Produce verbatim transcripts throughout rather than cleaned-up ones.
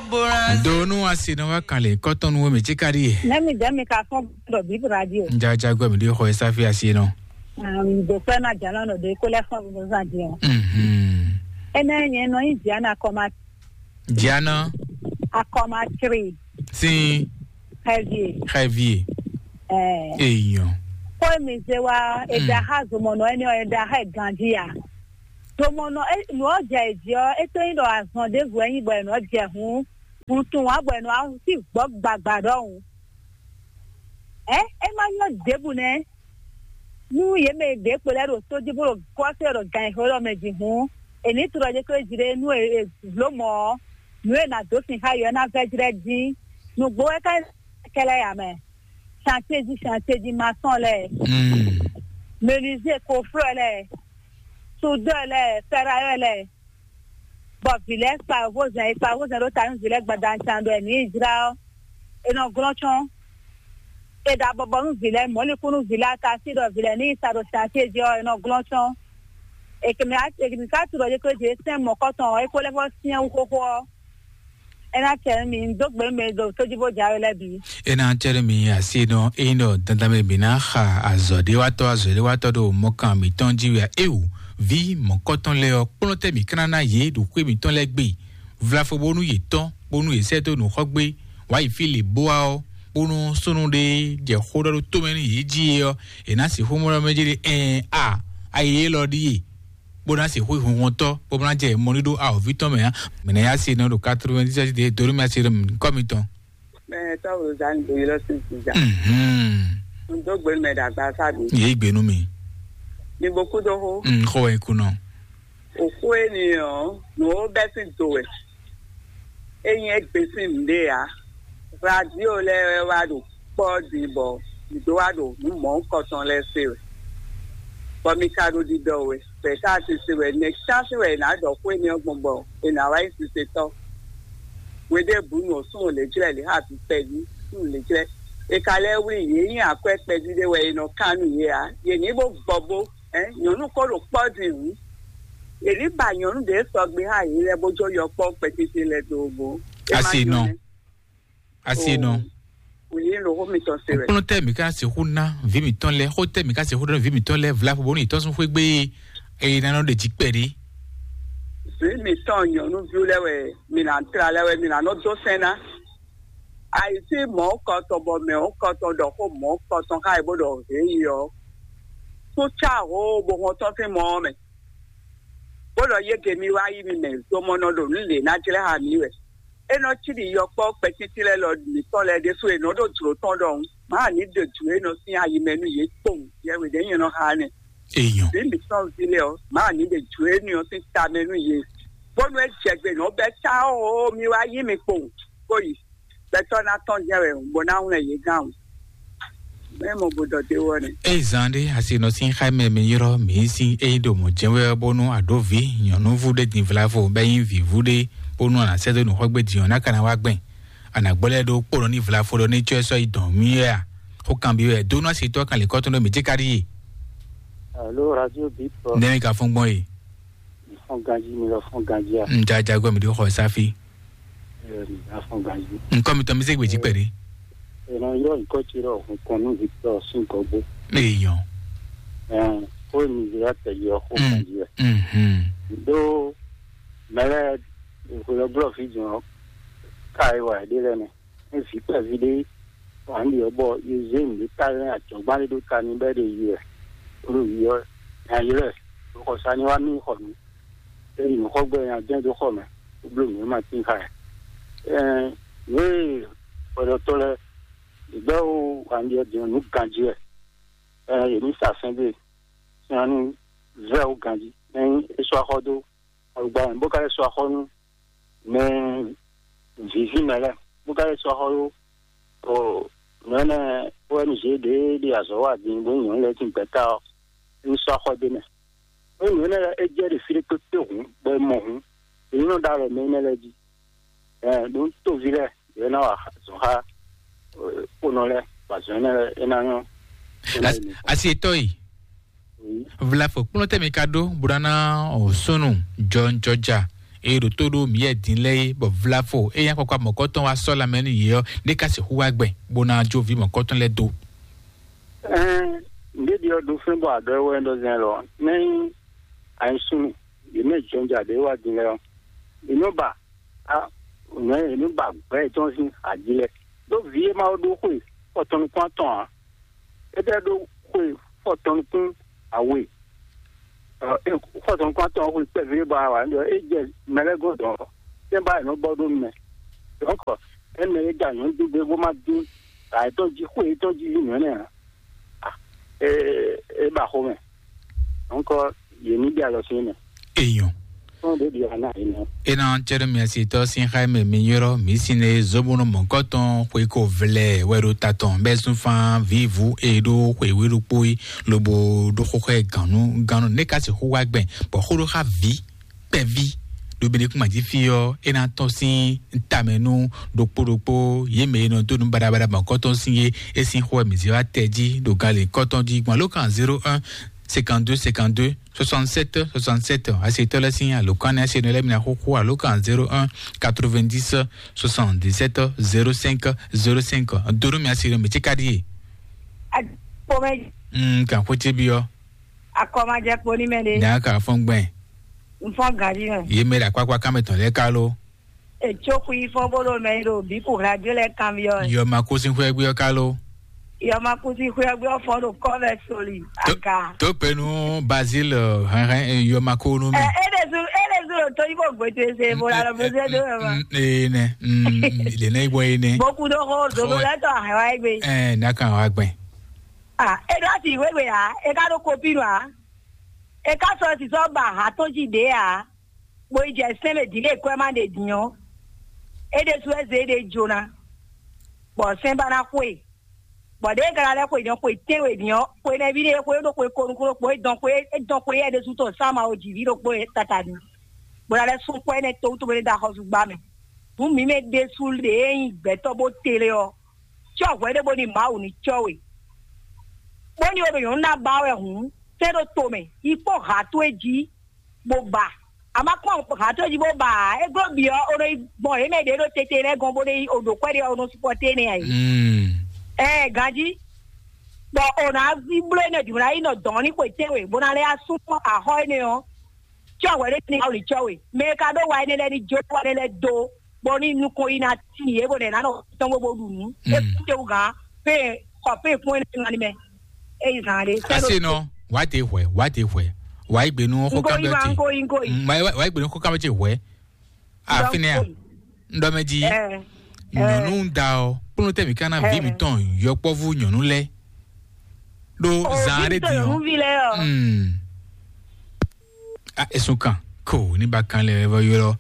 Do nú asi nɔ wá kan lě kɔ́tɔn nú mì cí káɖí e. Nɛ́ mi dɛ́ mi ka fɔ́n ɖɔ Bíblia jí o. Ŋdzajagbɛ mi ɖi xɔ esa fi asi nɔ. Àm, do fẹ́ na jalo nɔ ɖe kó lɛ fɔ́n bó zan jí o. Mhm. Énɛ́ nyɛ nɔ nyí Diana akɔma Diana akɔma tri sín xɛvie. Xɛvie. Ɛɛ. Eyɔn. Kó mi zé wa, e da xa zomɔnɔ ɛnɛ ɔ, e da xa ganji ya. Zomɔnɔ, e, nɔ jɛ jí ɔ, e to nyi ɖɔ azɔn ɖe vo ɛnyi bɔ e nɔ jɛ hun, hun tun wa bɔ e nɔ asi gbɔ gbagba ɖɔhun. Ɛ, e ma nyɔ ɖěbǔ nɛ́. Nú yě mɛ e ɖě kpo lɛ́ɛ ɖo tó jí bó ɖo gɔ́ sɛ́ ɖo gan e xó ɖɔ mɛ jí hǔn, è nǐ tlɔ jɛ kplé jí ɖé nú è è vlǒ mɔ̌ ɔ́, nǔ e è nǎ dó sin xá yě ɔ́ ná vɛ́ jlɛ́ dín. Nǔgbó wɛ ká kɛlɛ ya mɛ. Chantier jí chantier jí masɔn lɛ́ɛ, Mm. menuisier koflɔ́ lɛ́ɛ, soudeur lɛ́ɛ, ferrailleur lɛ́ɛ, bɔ vǐ lɛ́ɛ kpa yovózɛn, è kpa yovózɛn ɖó ta nú vǐ lɛ́ɛ gbadanu can ɖɔ è nǐ yi jlá ɔ́, è nɔ glɔ́n cɔ́n. È ɖo abɔbɔ nú vǐ lɛ́ɛ, mɔ̌likún nú vǐ lɛ́ɛ, ata sí ɖɔ vǐ lɛ́ɛ ní yi sa ɖo chantier jí ɔ́, è nɔ glɔ́n cɔ́n. È kɛ mɛ è kɛ mɛ ka tu ɖɔ yě kó jě sɛn mɔ̌kɔtɔn ɔ́, é kó lɛ́ vɔ́ syɛ́n wú xóxó ɔ́, é ná cɛ nú mi, un dó gbe nú mi ɖo tójíbó jǎwe lɛ́ɛ bǐ. É ná cɛ nú mi asi nɔ ényí ɖɔ dandan mɛ bǐ ná xa azɔ̌ɖéwatɔ́ azɔ̌ɖéwatɔ́ ɖo mɔkan mǐtɔn jí wɛ a? Éwu, vǐ mɔ̌kɔtɔn lɛ́ɛ ɔ́, kplɔ́n tɛ́ mǐ ka ná ná yě ɖo xwé mǐtɔn lɛ́ɛ gbe. Vlafo bónú yě tɔ́n, bónú yě sɛ́ dó nǔxɔ́gbé, wǎ yi fí lě bó wá ɔ́, bónú súnnu ɖé jɛ xó ɖɔ ɖó tomɛ nú yě jí é ɔ́, è nǎ sixú mɔ ɖɔ mɛ jí ɖe ɛɛn a, ayi élɔ́ ɖíe, bó ná sixú yi hunhuntɔ́, bó ná jɛ mɔ ní ɖó awɔ̌ví tɔn mɛ ǎ. Mɛ̌ ná yá se nɔ ɖo quatre-vingt-dix-sept de dó nú mɛ se ɖo kɔ́ mitɔn. Mɛ tɔ́ Rozani do ylɔ́ sín sínzá. Mhm. Un dó gbe mɛ ɖo agbaza mi. Yě gbe nú mi. Mi bo kú dó xó. Mm, xó wɛ kú nɔ. Òkú énìyàn nù ó bɛ́ sín do wɛ. Ényí é gbe sín nǔɖé ǎ. Radio lɛ́ɛ wɛ wá ɖo kpɔ́ din bɔ mǐ dó wá ɖo nǔ mɔ̌hunkɔtɔn lɛ́ɛ se wɛ. Bɔ mi ka ɖo ɖiɖɔ wɛ, bɔ è ka sise wɛ, nɛ̌ sín wɛ è nǎ ɖɔ xó énɛ́ ɔ́ gbɔn bɔ è nǎ wá nyí sisetɔ́? Hweɖěbǔnu ɔ́, súnnu lě jlɛ́ lě xá vǐ kpɛví, súnnu lě jlɛ́. È ka lɛ́ wlí yě nyí akwɛ́ kpɛví ɖé wɛ è nɔ kán nú yě ǎ. Yě ní bó gbɔ bó, ɛ̌, nyɔ̌nu ko ɖo kpɔ́ din hǔn. Yě ní ba nyɔ̌nu ɖě sɔgbe xá yě lɛ́ɛ bó jó yɔkpɔ́ kpɛtete lɛ́ɛ dó bó. É má Asi nyɔ́ nɔ. Nɛ́. Asi nɔ. Wǐ ɖo xó mitɔn se wɛ. Kplɔ́n tɛ́ mǐ ka sixú ná vǐ mǐtɔn lɛ́ɛ, xó tɛ́ mǐ ka sixú ná vǐ mǐtɔn lɛ́ɛ, vlavo bónú yě tɔ́ sún xwé gbé, eye ná nɔ ɖe jí kpɛɖé. Vǐ mǐtɔn nyɔ̌nuví lɛ́ɛ wɛ mi nǎ tlá lɛ́ɛ wɛ mi nǎ nɔ dó sɛn ná. Ayǐsí mɔ̌kɔtɔn bɔ mɛ̌kɔtɔn ɖɔ xó mɔ̌kɔtɔn xá yě bó ɖɔ hě yi ɔ́, kú cá hǒ bó hɔn tɔ́n sín mɔ ɔ́ mɛ, bó ɖɔ yége mi wá yí mi mɛ, zomɔnɔ ɖo nǔ lě ná jlɛ́ xá mi wɛ. É nɔ cí ɖi yɔkpɔ́ kpɛtítí lɛ́ɛ lɔ mǐtɔn lɛ́ɛ ɖésú è nɔ ɖo jlǒ tɔn ɖɔhun, mǎ ní ɖe jǔ e nɔ sín ayi mɛ nú yě kpowun, yɛwě ɖě nyɛ nɔ xa nɛ́. Èèyàn. Vǐ mǐtɔn ví lɛ́ɛ ɔ́, mǎ ní ɖe jǔ énɛ́ ɔ́ sín ta mɛ nú yě, bónú é jɛ gbe nǔ ɔ́ bɛ́ tá ɔ́, mi wá yí mi kpowun, bó yi. Gbɛtɔ́ ná tɔ́n jɛ́n wɛ bó ná hwlɛ́n yě gán o. Mɛ mɔ bó dɔ dé wɔ nɛ. Eye zan ɖé asi nɔ sín xá mɛ mi yrɔ́ mǐ sín ényí ɖo mɔ̌ jɛ́n wɛ bónú àɖǒví nyɔ̌núvú ɖé din vlavo bɛ́ nyí vǐvú ɖé bónú ànǎ sɛ́ dó nǔxɔ́gbé din ɔ́ ná ka ná wá gbɛn. Ànǎgbɔ́ lɛ́ɛ ɖó kpónɔ ní vlavo ɖɔ ní cɔ́ ɛ sɔ́ yi dɔn mì wɛ a? Xó kanbyɔ́ wɛ dó nú asi tɔ́ kan lě kɔ́tɔn ɖó mǐ cí káɖí e. Alo, radio bip. Nɛ́ mi ka fɔ́n gbɔn e? Fɔ́n ganjí mi lɔ fɔ́n ganjí a? Ŋ jajagbɔ mi ɖó xɔ sáfí. Ɛ, mi lɔ fɔ́n ganjí. Ŋkɔ mi tɔn mi zé gbèjì pɛ̀lú. Ɛ, nɔ yɔ ŋkɔ tsi ɖɔ hun kɔn nú Victor sín gɔgbó. Èèyàn. Ɛ, kó mi zé atɛ yɔ xó ganjí ɛ. Mhm. Ɖó mɛlɛ ìhòòhò blɔ fi jùn ɔ ká ɛ wà ɛ ɖé lɛ mɛ. Ní vǐ kpɛví ɖé wǎn ɖi ɔ́ bɔ yě zé nǔɖé ta lɛ́ ajɔ̌gbán ɖé ɖó ta n'i bɔ é ɖe yi wɛ, bó ɖo yi ɔ́, nya ylɔ́ ɛ, bó xɔ sa ní wá mì xɔ nǔ. É yi nǔxɔgbɛ nya jɛ́n dó xɔ mɛ, bó bló nǔ e ma tín xá ɛ. Ɛɛn, nǔ e hwɛɖɔtɔ́ lɛ́ɛ, yě gbɛ́ wǎn ɖi ɔ́ din ɔ́, nǔ ganjí wɛ. Ɛɛn, yě ní sa sɛ́n ɖé, sin ɔ́ ní vɛ́ wú ganjí. Ɛɛn, é sú axɔ́ dó alugba mɛ, bó ka lɛ́ sú axɔ́ nú mɛ vǐví mɛ lɛ́ɛ, bó ka lɛ́ sú axɔ́ ɖó o nǔ énɛ́ O N G ɖě ɖe azɔ̌ wa din bó nyí nyɔ̌nu lɛ́ɛ sín gbɛ̌ta ɔ́, é sɔ́ axɔ́ d'é mɛ. Nú nǔ énɛ́ lɛ́ɛ é jɛ ɖe fí ɖé kpékpé hǔn, bɔ è mɔ hǔn, è ní nɔ ɖó alɔ mɛ énɛ́ lɛ́ɛ jí. Ɛ ɖó tóví lɛ́ɛ yě ná wa azɔ̌ xá kponɔ lɛ́ɛ, bɔ azɔ̌ énɛ́ lɛ́ɛ é ná nyɔ́. Asi etɔ́ yi. Vlafo kplɔ́n tɛ́ mi ka ɖó bó ná ná o súnnu jɔjɔja e ɖo tó ɖó mǐyɛ din lɛ́ɛ é, bɔ vlafo e nyí akpakpa mɔ̌kɔtɔn wá sɔ́ lanmɛ nú yě ɔ́, ɖé ka sixú wá gbɛn bó ná jó vǐ mɔ̌kɔtɔn lɛ́ɛ dó. Ɛn, ŋɖéɖi ɔ́ ɖo fɛ́n bɔ adɔ e wɛ ɖɔ zɛn lɔ, nɛ́ nyí ayinsúnnu, yě mɛ jɔnja ɖě wá din lɛ́ɛ ɔ́, yě nɔ ba, a, nɛ́ yě nɔ ba gbɛ̌ yětɔn sín aji lɛ́ɛ. Ɖó vǐ e ma ɖó xwe fɔtɔn nukún atɔn ǎ, é tɛ́ ɖó xwe fɔtɔn nukún awe, ɔ, é xɔsɔn kɔn atɔn xwe kpɛví ɖé bɔ a wǎ ɖɔ é jɛ mɛ lɛ́ɛ gɔ́n dɔ̌n, tɛ́nba è nɔ bɔ ɖó nu mɛ. Donc, é mɛ é da nyɔ̌nu dó gbé bó má dín, ayǐtɔn jí xwe yětɔn jí yí nǔ énɛ́ ǎ. Ah, é é ba xomɛ. Donc, yě ní ɖe alɔ sín mɛ. Èèyàn. Fún ɖě ɖi ana yìí nɔ. Ena cɛɖɔ mi asitɔ sin xa mɛ mi yɔrɔ mi sin ne zobono mɔkɔtɔn xwe ko vlɛ wɛ ɖo tatɔn bɛ sunfan vivu e ɖo xwe wíɖukpo yi lobo ɖo xóxɛ ganu ganu ne ka se xó wá gbɛn bɔ xó ɖo xa vi kpɛvi ɖo bene kuma jí fi ɔ ena tɔn sin tamɛ nu ɖokpo ɖokpo ye mɛ e nɔ do nu baɖabaɖa mɔkɔtɔn sin ye e sin xó mi zé wa tɛ jí ɖo gali kɔtɔn jí gbɔn alo kan zéro un cinquante-deux cinquante-deux soixante-sept soixante-sept. Asitɔ lɛ sin alo kan ne asi ne lɛ mina xóxó alo kan zéro un quatre-vingt-dix soixante-dix-sept zéro cinq zéro cinq. Doro mi asi ne mi tsi ka di ye. Akpɔmɛ. Mm, kan xwete bi ɔ. Akɔmajɛ kpo ni mɛ de. Nya ka fɔn gbɛn. Nfɔn gari mɛ. Ye mɛ la kpakpa kan mɛ tɔn lɛ ka lo. Etsó xwi fɔ́n bó ɖo mɛ yi ɖo bǐ ko radio lɛ́ɛ kanbyɔ́ wɛ. Yɔma kú sín xwé gbé ɔ́ ká ló? Yɔma kú sín xwé gbé ɔ́ fɔ́n ɖo kɔ́ vɛ soli aga. Tó pé nú Bazil hɛnhɛn yɔma kó nú mi. Ɛ é ɖe zu é ɖe zu ɖo tó yí bó gbé tó ese bó la lɔ bó zé dó yɔma. Ee nɛ, lè nɛ gbɔn ee nɛ. Bókú ɖó xó zozo lɛ tɔ ahɛn wá gbé. Ɛ n'a kan wá gbɛn. Ah, e ɖo asi wéwe a, e ka ɖo kopi nɔ a, e ka sɔ si sɔ ba ha tɔn ji ɖe a. Bó yi jɛ sɛ́n mɛ din lě kwɛ́ ma ɖe din ɔ́, é ɖésú wɛ zé ɖé jó ná, bɔ sɛ́n ba ná xwe, bɔ ɖěe ka ná lɛ́ xwe din ɔ́, xwe tɛ́nwe din ɔ́, xwe nɛví ɖé xwe ɖó xwe ko nukúnnú kpo é dɔn xwe é dɔn xwe yɛ ɖésú tɔn sán ma o jǐví ɖokpó e tata din, bó ná lɛ́ sún xwɛ énɛ́ towútowú ɖé dó axɔ́súgbá mɛ. Nǔ mǐmɛ́ ɖésú ɖě e nyí gbɛ̌tɔ́ bó tlé ɔ́, cɔ́ hwɛ ɖé bó ní Mawu ní cɔ́ we, bó ní o ɖo nyɔ̌nu ná ba wɛ hǔn, sɛ́ ɖó tomɛ, yi kpɔ́n ha towe jí, bó ba. A ma kpɔ́n ha towe jí bó ba ǎ. É glɔ́ bǐ ɔ́, o nɔ yi gbɔn yě mɛ ɖě ɖo tete lɛ́ɛ gɔ́n bó ɖe yi o ɖǒ kwɛ́ ɖé ɔ́, o nɔ sukpɔ́ tɛ́nɛ ǎ é. Ɛɛ ganjí, bɔ o nǎ ví bló énɛ́ din, o ná yi nɔ dɔ̌n ní xwe tɛ́nwe, bó ná lɛ́ yá súnmọ́ axɔ́ énɛ́ ɔ́, cɔ́ hwɛ ɖé ní Mawu ní cɔ́ we. Mɛ e ka ɖó wa énɛ́ lɛ́ɛ ní jó wa énɛ́ lɛ́ɛ dó, bɔ ní nukɔn yi ná tíin yě, bɔ nɛ̌ ná nɔ tɔn bó bó ɖu nǔ. É kú tewu gǎn, pé xɔ pé fún énɛ́ ŋa ní mɛ. É yi zan ɖé. Asi nɔ, wá te hwɛ, wá te hwɛ. Wá yi gbe nú xó Nko kan yi bɛ ma, ti. Nko yi, nko yi. Mm, wá yi, wá yi gbe nú xó kan bɛ ti hwɛ. Afinɛ a. Nko yi. Ndɔmɛji. Ɛ, ɛ. Nyɔnu da ɔ, kplɔn tɛ mi kana vi mi tɔn yɔkpɔvu nyɔnu lɛ. Ɖo zan ɖe di ɔ. Nyɔnuvi lɛ ɔ. Mm. A esun kan ko ní ba kan lɛ vɔ yɔrɔ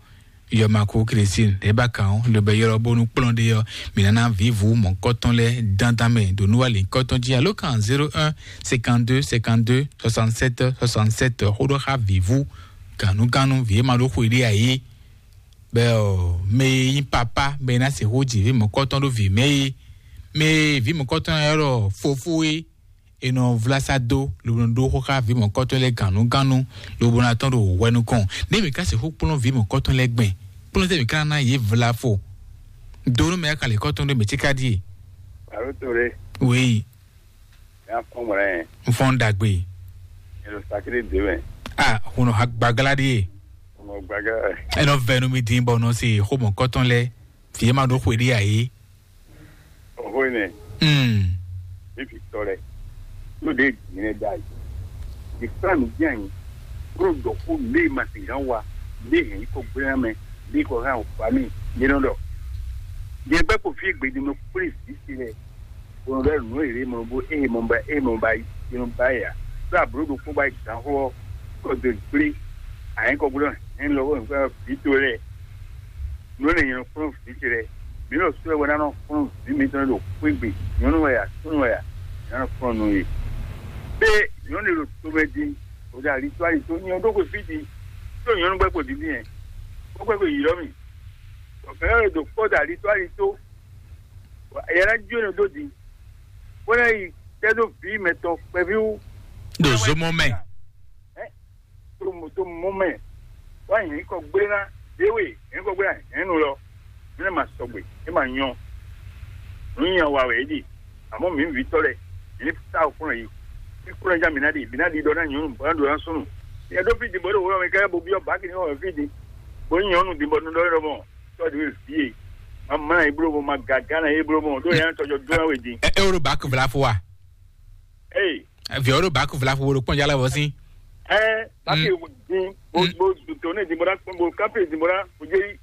yɔma ko Christine lɛ ba kan o lɛ bɛ yɔrɔ bonu kplɔn de yɔ mi nana vivu mɔ kɔtɔn lɛ dandan mɛ do nuwa le kɔtɔn ji alo kan zéro un cinquante-deux cinquante-deux soixante-sept soixante-sept xo ɖɔ xa vivu ganu ganu vie ma ɖo xwe ɖe ayi bɛ ɔ mɛ yi papa mɛ na se xo ji vi mɔ kɔtɔn ɖo vi mɛ yi mɛ vi mɔ kɔtɔn yɔ ɖɔ fofo yi e nɔ vla sa dó lobo nɔ ɖó xó xá vǐ mɔ̌kɔtɔn lɛ́ɛ gǎnnugánnu lobo ná tɔn ɖo hwɛ nukɔn. Nɛ̌ mǐ ka sixú kplɔ́n vǐ mɔ̌kɔtɔn lɛ́ɛ gbɛn? Kplɔ́n tɛ́ mǐ ka ná yě vla fo? Do nú mɛ e ka lě kɔ́tɔn ɖé mɛ ce ka ɖíe? Alo to ɖe. Wéyi. Yá kpɔ́n mɔ̌ lɛ́ɛ. N fɔ́n ɖagbe. Yɛlò sakiri dè mɛ. A hun nɔ ha gbaglá ɖíe. Hun nɔ gbaglá. Ɛ nɔ vɛ nú mi dín bɔ nɔ se xó mɔ̌kɔtɔn lɛ́ɛ. Vǐ e ma ɖó xwe ɖé ǎ é. Oxó énɛ́. Mm. Ní fi tɔ lɛ. Yóò ɖe dǐn lɛ da yi. Di kpla nǔ dín anyi. Kúrò dɔ̌xó lé ma sǐn gán wa. Lé hɛn yi kɔ gblé ná mɛ. Lé kɔ hɛn o fa mì. Lé nɔ ɖɔ. Nyɛ gbɛ ko fí gbedi mɛ kplé zǐ si lɛ. Bɔn ɖɔ nǔ èrè mɔ bó eye mɔ ba eye mɔ ba yi mɔ ba ya. Ɖo ablo ɖokpó ba yi gǎn xó ɔ. Kɔ do gblé. Anyi kɔ gblé hɛn lɔ wɔ nǔkpɛ́n vǐ to lɛ. Nǔ énɛ́ nyɛ nɔ kplɔ́n vǐ ce lɛ́ɛ. Mǐ ɖo sɔ́ ɛ wɛ ná nɔ kplɔ́n vǐ mitɔn e ɖo xwé gbe, nyɔ̌nu wɛ a, súnnu wɛ a, mǐ ná nɔ kplɔ́n nú yě. Ɖé nyɔ̌nu e ɖo tomɛ din, bó ɖo alitó alitó, nyɛ ɖó xwe fí din, tó nyɔ̌nu gbɛ́ kpo dǐndín yɛ, bó gbɛ́ kpo yi lɔ́ mì. Bɔ mɛ ɔ́ ɖo kpɔ́ ɖo alitó alitó, bɔ yɛ ná jó nɔ dó din, bó ná yi tɛ́ dó vǐ mɛtɔn kpɛví wú. Ɖo zomɔ mɛ. Ɛ? Tó mɔ tó mɔ mɛ, wá nyǐ kɔ gblé ná. Ewe, yɛn kɔ gbé, yɛn nu lɔ, mi ne ma sɔgbe, e ma nyɔ. Nu nya wa wɛ e ɖi, àmọ́ mi vǐ tɔ lɛ, mi ní sa o kplɔn yi. Mi kplɔn ja mi ná ɖi, mi ná ɖi ɖɔ ná nyɔnu, bɔ ná ɖo ná súnnu. Yɛ ɖó fí di bɔ ɖo wúrɔ mi ká bo byɔ baki ní wɔ fí di. Bo nyɔnu di bɔ nu ɖɔ ɖɔ mɔ, tɔ di fi e. Ma mla yi blo mɔ, ma gaga na yi blo mɔ, ɖo yɛn tɔjɔ dún we di. E o ɖo baki vla fo wa. Ee. Via o ɖo baki vla fo wo ɖo kpɔnjala vɔ sin. Ɛ, baki din, bo bo to ne di bɔ da, bo kape di bɔ da, bo je yi.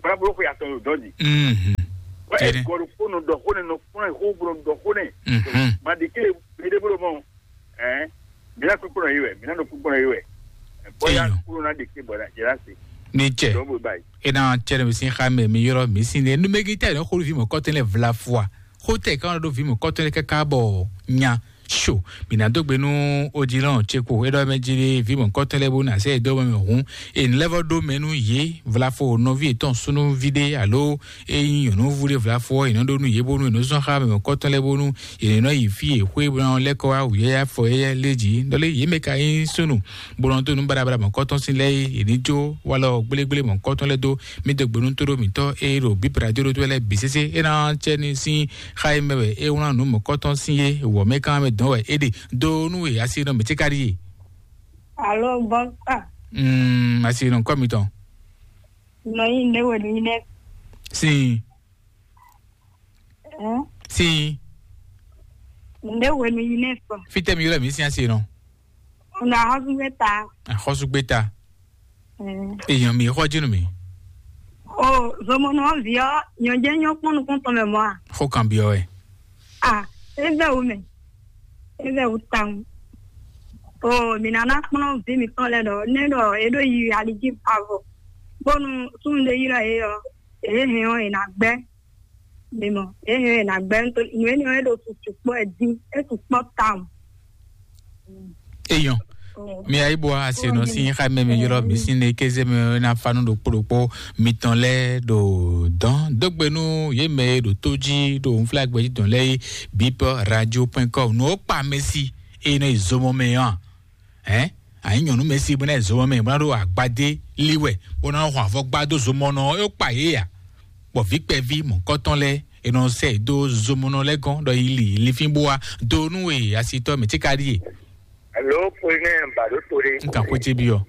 Bɔ da bolo ko ya tɔn dɔn di. Mhm. Wa e gɔdo ko no dɔ ko ne no ko ne ko bolo dɔ ko ne. Mhm. Ma di ke be de bolo mɔ. Ɛ, mi na kpekpe nɔ yi wɛ, mi na nɔ kpekpe nɔ yi wɛ. Bɔ ya Eyan. Kúrò na de ke bɔ da jɛ la se. Ni cɛ. Dɔn bo ba yi. E na cɛ ne mi sin xa mɛ mi yɔrɔ mi sin ne numegi tɛ ne xolu fi mɔ kɔtɛ lɛ vla fua. Xotɛ kan ɖo vi mɔ kɔtɔ lɛ kaka bɔ nya so. Mina dó gbe nú ojilɔn ce ko e ɖɔ mɛ jí ɖe vi mɔ kɔtɔ lɛ bó na sɛ dó mɛ hǔn. E lɛvɔ ɖó mɛ nú yě vlafo nɔví etɔn súnúví ɖé alo e nyí nyɔ̌núvú ɖé vlafo ɔ́, è nɔ ɖó nú yě bónú è nɔ zɔn xá mɛ mɔ kɔtɔ lɛ bónú è nɔ yi fí e xwé bó ná lɛ́ kɔ wá wǔyá fɔ éyɛ́ lé jí. Ɖɔlé yě mɛ ka nyí súnnu bó nɔ dó nú baɖabaɖa mɔ kɔtɔn sín lɛ́ɛ é, è ní jó walɔ gblégblémɔ kɔtɔn lɛ́ɛ dó. Mí dó gbe nú tóɖó mǐtɔn e ɖo bíbra jóɖótó lɛ́ɛ bǐ sésé é ná cɛ ní sín xa e mɛ wɛ é wlán nǔ mɔ̌kɔtɔn sín é wɔ mɛ kán mɛ dɔn wɛ é ɖe dó nú e asi nɔ mǐ ce ka ɖíe. Alo bɔsa. Mm, asi nɔ kɔ mitɔn. Nɔ yi ne wɛ nu yi ne. Sin. Ɛn? Sin. Ne wɛ nu yi ne fɔ. Fitɛ mi ylɔ mi sin asi nɔ. Una xɔsugbeta. Xɔsugbeta. Mm. Èèyàn mi xɔ jínú mi. O zomɔnɔ viɔ nyɔjɛ nyɔ kpɔn nukun tɔn mɛ mɔ a? Xɔ kan biɔ wɛ. A, ezɛ wu mɛ. Ezɛ wu tan. O mi nana kplɔn vi mi tɔn lɛ dɔ ne dɔ e ɖo yi aliji avɔ. Bonu sun de yi lɔ e yɔ. E hɛn ɔ e na gbɛ. Mi mɔ, ehe na gbɛ nto nu ene ɔ́ e ɖo susu kpɔ ɛ dín, e su kpɔ tawun. Eyɔn. Mi ayi bɔ asi nɔ si xa mɛ mi ylɔ mi si ne keze mɛ na fa nu ɖokpo ɖokpo mitɔn lɛ ɖo dɔn dogbe nu ye mɛ ɖo to ji ɖo nfla gbɛji dɔn lɛ yi bip radio point com no kpa mɛ si e nɔ yi zomɔ mɛ yɔn. Hɛn, anyi nyɔnu mɛ si bɔ na zɔ mɛ bɔ na ɖo agbadé li wɛ bɔ na xɔ avɔ gba dó zomɔnɔ yóò kpa yé ya. Bɔ vi kpɛvi mɔkɔtɔn lɛ enɔ sɛ dó zomɔnɔ lɛ gɔn ɖɔ yi li linfín bó wa dó nú e asitɔ mɛ tí ka ɖíe. Alo, pwene bado to ɖe. N kan xwé ce bi ɔ.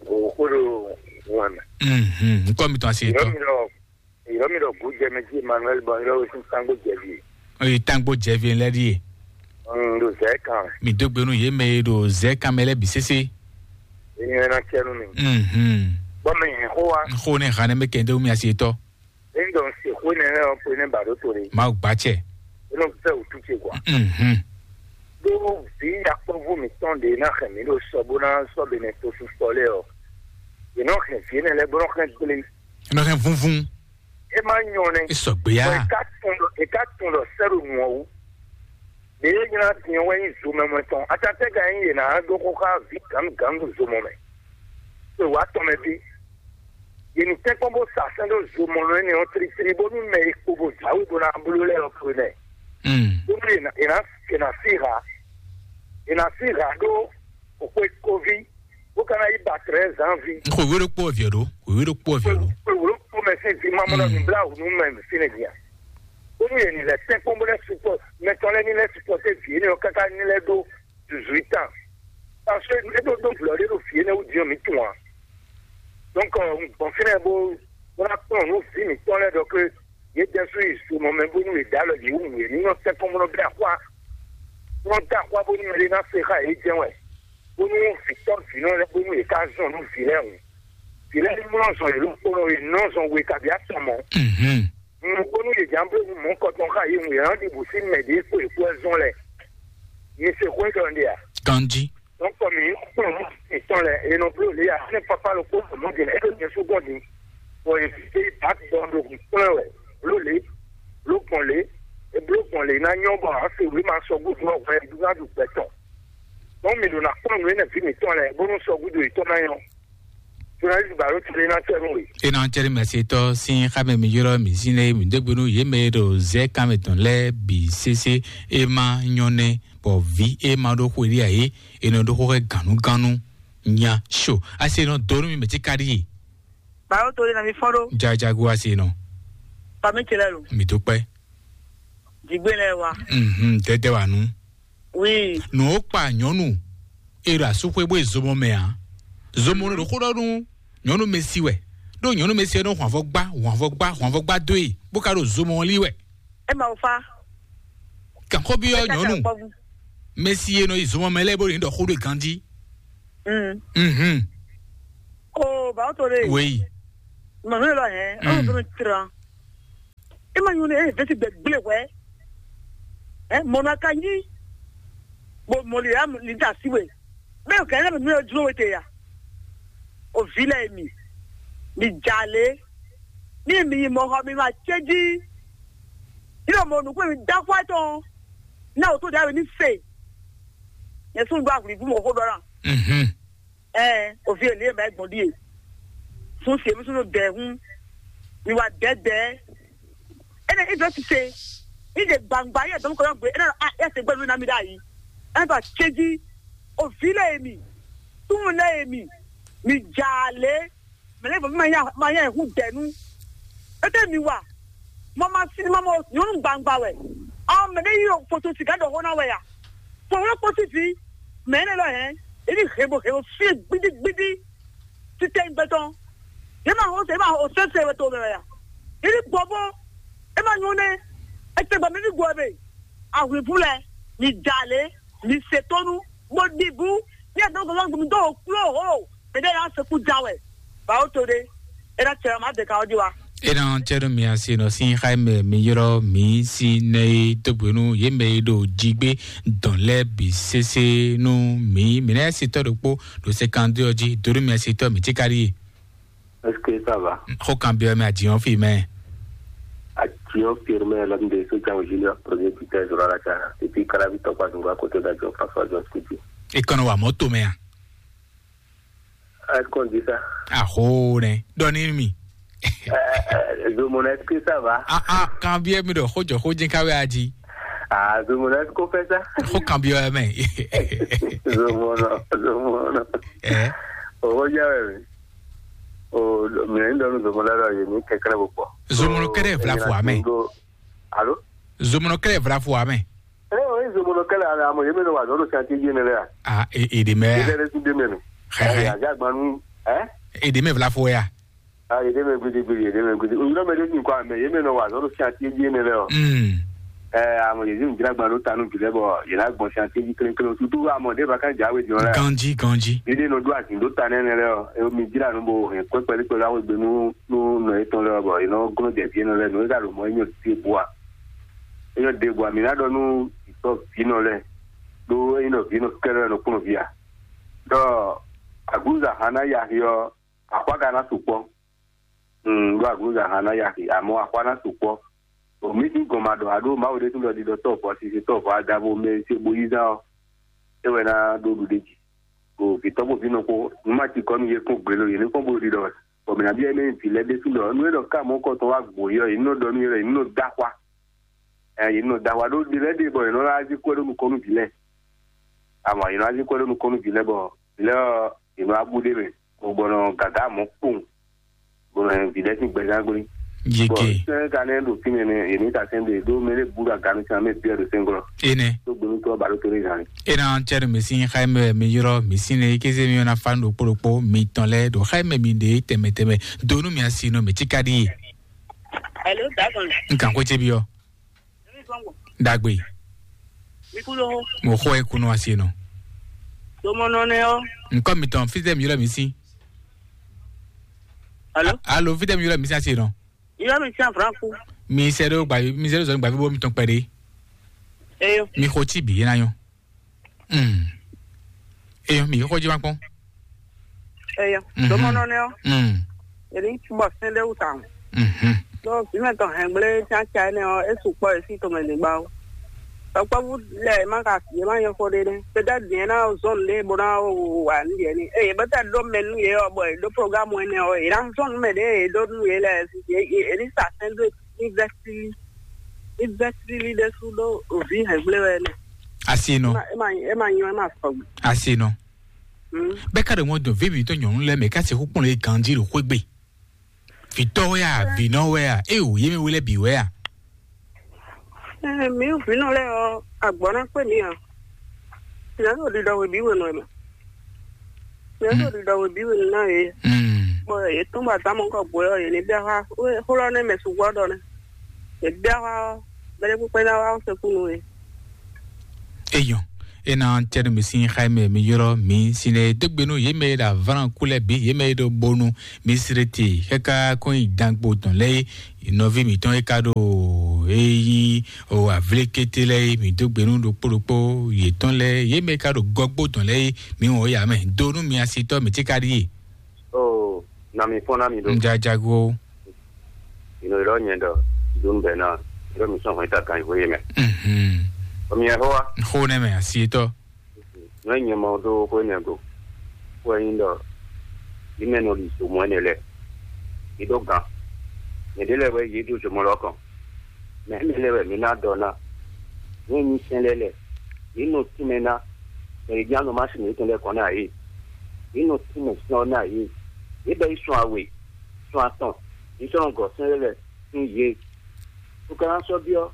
O ko ɖo wan. Mhm, nkɔ mi tɔn asi tɔ. Yɔrɔ mi ɖɔ Yɔrɔ mi ɖɔ Gujɛmɛji Emmanuel bɔ yɔrɔ sin tangbo jɛvi. Oyi tangbo jɛvi lɛ ɖi ye. Mm, ɖo zɛ kan. Mi dó gbe nú yé mɛ e ɖo zɛ kan mɛ lɛ bi sese. Enyi na cɛ nu mi. Mhm. Bɔ mi xo wa. Xo ne xane me kɛnde mi asi tɔ. Eyi dɔn se xo ne lɛ ɔn pe ne ba ɖo to de. Ma gba cɛ. Eno fɛ o tu ce kwa. Mhm. Ɖo vi yakpɔvu mi tɔn de na xɛ mi ɖo sɔ bo na sɔ be ne to su sɔ lɛ ɔ. Yenɔ xɛ vi ne lɛ bo nɔ xɛ gble. Nɔ hɛn vúnvún. E ma nyɔ nɛ. E sɔgbe ya. Bɔ e ka tun ɖɔ e ka tun ɖɔ sɛɖo nu ɔ́ wú. Ɖe e nyla tiɛ wɛ nyi zomɛmɛ tɔn atatɛ ka nyi yě ná ɖó xó xá vǐ gǎnugǎnu ɖo zomɔ mɛ. E wǎ tɔn mɛ bí. Yě ní tɛ́nkpɔ́n bó sa sɛn ɖó zomɔ nɔ énɛ́ ɔ́ tlítlí bónú mɛ e kpo bó jǎwe bó ná bló lɛ́ɛ ɔ́ fwe nɛ. Mm. Bónú yě ná yě ná yě ná sí ha. Yě ná sí ha ɖó xwe koví. Bó ka ná yi ba trɛ́ zǎnví. Xwe wé ɖokpó ɔ́ viɛ ɖó. Xwe wé ɖokpó ɔ́ viɛ ɖó. Xwe wé ɖokpó mɛ sín ví ma mɔ nɔ nǔbláwǔ nú mɛ fínɛ́ din a. Bónú yě ní lɛ́ tɛ́nkpɔ́n bó lɛ́ sukpɔ mɛtɔn lɛ́ɛ ní lɛ́ sukpɔ té vǐ énɛ́ ɔ́ káká ní lɛ́ ɖó duzwítán. Parce que é ɖó dó vlɔ̌ ɖé ɖo vǐ énɛ́ wú din ɔ́ mǐ tunwun a. Donc gbɔn fínɛ́ bó bó ná kplɔ́n nú vǐ mǐtɔn lɛ́ɛ ɖɔ ké yě jɛ sú yi zomɔ mɛ bónú yě dó alɔ yě wú yě ní nɔ tɛ́nkpɔ́n bó nɔ bɛ́ axwá. Bó nɔ dó axwá bónú mɛ ɖé ná se xá yě jɛ́n wɛ. Bónú vǐtɔ́ vǐnɔ lɛ́ɛ bónú yě ká zɔn nú vǐ lɛ́ɛ hǔn. Vǐ lɛ́ɛ ní mlɔ́ zɔn yě ɖokpónɔ yě nɔ zɔn we kabí atɔn mɔ. Mhm. Nukpónú yě jǎn bló mɔ̌ kɔtɔn xá yě hǔn yě nɔ ɖi bǔ sín mɛ ɖě kpo yě kpo wɛ zɔn lɛ́ɛ. Mi se xwé ɖɔ ɖe a? Ganji. Donc mi kplɔn mɔ ìtɔn lɛ e nɔ bló lě a ne papa lo kpó mɔ dě e ɖo nyɛ sú gbɔn din. Bɔ yě fi ba gbɔn ɖo hun kplɔn wɛ bló lě bló gbɔn lě e bló gbɔn lě ná nyɔ bɔ a se wí ma sɔ gúdo ɔgbɛ dúgá du gbɛtɔ. Donc mi ɖo na kplɔn nǔ enɛ vi mǐtɔn lɛ bónú sɔ gúdo yětɔn ná nyɔ. Journaliste baro tile na tɛ nú we. E na tɛ nú mɛ se tɔ sin xamɛ mi yɔrɔ mi sin lɛ mi dégbe nú yé mɛ ɖo zɛ kan mɛ tɔn lɛ bi sese e ma nyɔ nɛ bɔ vi e ma ɖo xwe ɖi a yé e nɔ ɖo xo xɛ ganu ganu nya so ase nɔ do nú mi mɛ tí ka ɖi ye. Báwo to lé na mi fɔ́n ɖó? Jajago ase nɔ. Fami ce lɛ lo. Mi tó pẹ́. Jigbe lɛ wa. Mhm, dɛdɛ wa nu. Oui. Nù ó kpa nyɔnu. E ɖo asúxwé bó e zomɔ mɛ ǎ. Zomɔ nɔ ɖo xó ɖɔ nú nyɔnu mɛ si wɛ. Ɖó nyɔnu mɛ si wɛ nɔ hwanvɔ gbá, hwanvɔ gbá, hwanvɔ gbá dó e, bó ka ɖo zomɔ lí wɛ. E ma wo fa. Kanxɔ bi ɔ nyɔnu. Mɛ si e nɔ yi zomɔ mɛ lɛ bó ɖo ɖɔ xó ɖo ganji. Mm. Mhm. O ba o to de. Wei. Manu lɔ hɛn. Mm. Ɔn to tra. E ma nyɔ ne e vɛsi gbɛ gble wɛ. Ɛ mɔna ka nyi. Bo mɔli ya li da si we. Bɛ o kɛ ne mi o dúró we te ya. O vi lɛ mi. Mi jale. Ni mi yi mɔ xɔ mi ma cɛ ji. Ni o mɔ nukun mi da xɔ tɔn. Na o to da we ni se. Yɛ sun do ahwlivu mɔ xó ɖɔ na. Mhm. Ɛɛ, o vi e lě e mɛ gbɔn ɖíe. Sun se mi sunu dɛ hun. Mi wa dɛdɛ. Ene ido ti se. Ide gbangba ye dɔn ko gbe. Ene a ya se gbɛlu na mi da yi. Ɛn ba cheji. O vi le mi. Tun le mi. Mi jale. Mɛ lɛ bɔ ma ya ma ya hu dɛnu. Ete mi wa. Mɔ ma si ma mɔ nyɔnu gbangba wɛ. Ɔ mɛ ɖe yi o foto sika ɖɔ xɔ na wɛ ya. Fɔwɔlɔ kpɔsi fi. Mɛ ne lɔ hɛn. Ebi hebo hebo fi gbidi gbidi. Titɛ gbɛtɔ. Ye ma ho se ma ho se se wɛ to mɛ wɛ ya. Ebi gbɔbɔ. E ma nyɔ ne. Ete gbɔ mi bi gbɔ be. Ahwivu lɛ. Mi jale. Mi se tonu. Mo ɖi bu. Ni a dɔn gbɔmɔ gbɔmɔ dɔn o klo ho. Mɛ ɖe y'a sɔkú ja wɛ. Ba o to ɖe. E na cɛ ma de ka o di wa. E na cɛ ɖo mi asi nɔ sin xa mɛ mi yrɔ mi si nɛ e dogbe nu ye mɛ e ɖo jigbe dɔn lɛ bi sese nu mi mi na si tɔ ɖokpo ɖo se kan do ɔji do ɖo mi asi tɔ mi ti ka ɖi ye. Est-ce que ça va? Xo kan biɔ mi adiɔ fi mɛ. Adiɔ fi mɛ la mi de so jan junior premier buteur zɔrɔ la ca et puis kala bi tɔkpa zungba kote da jɔ fafa jɔ skuti. E kɔnɔ wa mɔto mɛ a? Est-ce qu'on dit ça? Aho nɛ dɔni mi. Zomona, est-ce que ça va? Ah ah, kan biɛ mi ɖɔ xojɔ xojin kawe aji. Ah, Zomona, est-ce qu'on fait ça? Xo kan biɔ mɛ. Zomona, Zomona. Eh. O xojɔ wɛ mi. O mi ni dɔnu Zomona lɔ ye ni kɛkɛrɛ bo kpɔ. Zomona kɛrɛ vla fo amɛ. Alo? Zomona kɛrɛ vla fo amɛ. Eh, o Zomona kɛrɛ amɛ amo ye mi no wa dɔnu santi ye ne lɛ. Ah, e e de mɛ. Ye de su de mɛ no. Xɛxɛ. Ya ja gbanu, eh? E de mɛ vla fo ya. Ah, ye de mɛ gbidi gbidi, ye de mɛ gbidi. O yɔrɔ mɛ de sin kwa mɛ ye mi no wa dɔnu santi ye ne lɛ o. Mm. Ɛ amɔ yezi ŋu dzra gban ɖo ta nú vi lɛ bɔ yě ná gbɔn sian téji klénklén tutu amɔ ɖé ba kan dza we jɔ lɛ. Ganji ganji. Ɖiɖe nɔ ɖo azin ɖo ta nɛnɛ lɛ ɔ, emi dzra nu bo hɛn kpɛkpɛ ɖe kpɛ ɖo awe gbe nú nú nɔ etɔn lɛ bɔ yě nɔ glɔ́n jɛ vi nɔ lɛ nú é ka ɖo mɔ é nyɔ ɖe bua é nyɔ ɖe bua mi ná ɖɔ nú vǐtɔ vi nɔ lɛ ɖó é nyɔ vi nɔ kɛlɛ nɔ kplɔn via ɖɔ aglúza hana yaxi ɔ, axwá ka ná sukpɔ. Mm, ɖo aglúza hana yaxi amɔ axwá ná sukpɔ. O mi sín gɔn ma ɖɔ aɖó Mawu ɖésú ɖɔ ɖiɖɔ tɔ́ vɔ sise tɔ́ vɔ adavo mɛ ce bo yí zán ɔ́, é wɛ ná ɖó ɖuɖéji. O vǐtɔ́ kpó vǐnɔ kpó, nǔ ma ci kɔ nú yě kpɔ́n gbě lo yě ní kpɔ́n bó ɖiɖɔ wɛ. Bɔ mǐ ná byɔ́ énɛ́ vǐ lɛ́ɛ ɖésú ɖɔ nú é ɖɔ ká mɔ̌ kɔ tɔn wá gbǒ yí ɔ́, yě ní nɔ ɖɔ nú yě ɖɔ yě ní nɔ dó axwá. Ɛ yě ní nɔ dó axwá ɖó ɖi lɛ́ɛ ɖe bɔ yě nɔ ná zí kwɛ́ ɖó nukɔn nú vǐ lɛ́ɛ. Amɔ yě nɔ ná zí kwɛ́ ɖó nukɔn nú vǐ lɛ́ɛ bɔ vǐ lɛ́ɛ ɔ́, yě nɔ wá bú ɖ'é mɛ, bɔ gbɔn nɔ gǎgá mɔ̌ kpowun. Bɔ mɛ vǐ lɛ́ɛ sín gbɛzán gblé. Yege. Bɔ sɛ́n ka nɛ́ ɖo fínɛ́ nɛ́, yě ní ta sɛ́n ɖe ɖó mɛ ɖé bú ɖo aganu sín amɛ bíɔ ɖo sɛ́nglɔ́. Ene. Tó gbónú tó ba ɖó tó ɖé zan. Ena cɛ ɖo mi sín xayi mɛ mi yrɔ mi sín ne kéze mi na fa ɖokpó ɖokpó mi tɔn lɛ ɖo xayi mɛ mi ɖe tɛmɛ tɛmɛ donu mi asi nɔ mi tsika ɖi. Hello, Dagon. Nkan ko tse bi ɔ. Dagbe. Mi kú lóhó. Mo xɔ ẹ kunu asi nɔ. Tomɔnɔ nɛ ɔ. Nkɔ mi tɔn fitɛ mi yrɔ mi sín. Alo. Alo fitɛ mi yrɔ mi sín asi nɔ. Iyɔ mi tiɲɛ fran ku. Mi sɛ ɖo gbavi mi sɛ ɖo zɔn gbavi bo mi tɔn kpɛ ɖe. Eyo. Mi xo ti bi yena yɔ. Mm. Eyo mi xo ji ma kpɔn. Eyo. Mhm. Domɔnɔ ne ɔ. Mm. Eri bɔ sɛn ɖe wuta. Mhm. Donc bi mɛ tɔn hɛn gblé tian tian ne ɔ esu kpɔ esi to mɛ de gba o. Tɔkpɔvu lɛ ma ka ye ma yɔ fo ɖe ne. Peut-être bien na zone ɖe bo na wa nu yɛ ni. Eye bɛ tɛ ɖo mɛ nu yɛ ɔ bɔ e ɖo programme wɛ ne ɔ e na zone mɛ ɖe e ɖo nu yɛ lɛ e ni sa sɛn do. Ni vɛsili ni vɛsili ɖe su ɖo ovi hɛgble wɛ ne. Asi nɔ. E ma e ma nyɔ e ma sɔgbe. Asi nɔ. Hmm. Bɛ ka ɖe ŋɔ dɔn vi mi to nyɔnu lɛ mɛ ka se xukpɔn le ganji ɖo xwegbe. Vǐtɔ́ wɛ a, vǐnɔ wɛ a, é o yé mɛ wé lɛ́ bǐ wɛ a? Ɛ, mǐ vǐnɔ lɛ́ɛ ɔ́, agbɔ̌ ná kpé mǐ ǎ. Mǐ ná ɖo ɖiɖɔ we bǐ we nɔ ɛ mɛ. Mǐ ná ɖo ɖiɖɔ we bǐ we nɔ ná yě. Bɔ yě tɔ́n bɔ adǎmɔ kɔ gbǒ ɔ́, yě ní bɛ́ xá xó lɔ́ nɛ́ mɛ sukpɔ́ ɖɔ nɛ́. Yě bɛ́ xá ɔ́, mɛɖé kpékpé ná wá xó sɛkú nú yě. Eyɔn, ena cɛnu mi sin xaimɛ mi yɔrɔ mi sin e dogbe nú yé mɛ e ɖo avlan kú lɛ bi yé mɛ e ɖo bonu mi srete kaka kɔn yi dangbo tɔn lɛ yi nɔvi mi tɔn e ka ɖo eyi o avlékété lɛ yi mi dogbe nú ɖokpó ɖokpó yetɔn lɛ yé mɛ e ka ɖo gɔgbó tɔn lɛ yi mi wɔn ya mɛ do nú mi asitɔ mi ti ka ɖi ye. Oh, na mi fɔn na mi ɖo. Njajago. Ino ylɔ nyɛ ɖɔ dun bɛ na ylɔ mi sɔn hɔn ta kan hwe mɛ. Mhm. Omi yɛ hoa. Xo ne mɛ asitɔ. Nɔ nyɛ mɔ ɖo hwe ne go. Hwe yin ɖɔ yi mɛ nɔ li so mɔ ne lɛ. Yi ɖo gan. Nyɛ ɖe lɛ wɛ yi ɖo zomɔ lɔ kɔn. Mɛ mi lɛ wɛ mi na dɔ na. Nyɛ nyi sɛn lɛ lɛ. Yi nɔ tún mɛ na. Mɛ yi jan nɔ ma sin mi tɔn lɛ kɔn na yi. Yi nɔ tún mɛ sɔn na yi. Yi bɛ yi sɔn awe. Sɔn atɔn. Yi sɔn gɔ sɛn lɛ lɛ. Sín yě. Tó ka ná sɔ́ byɔ́,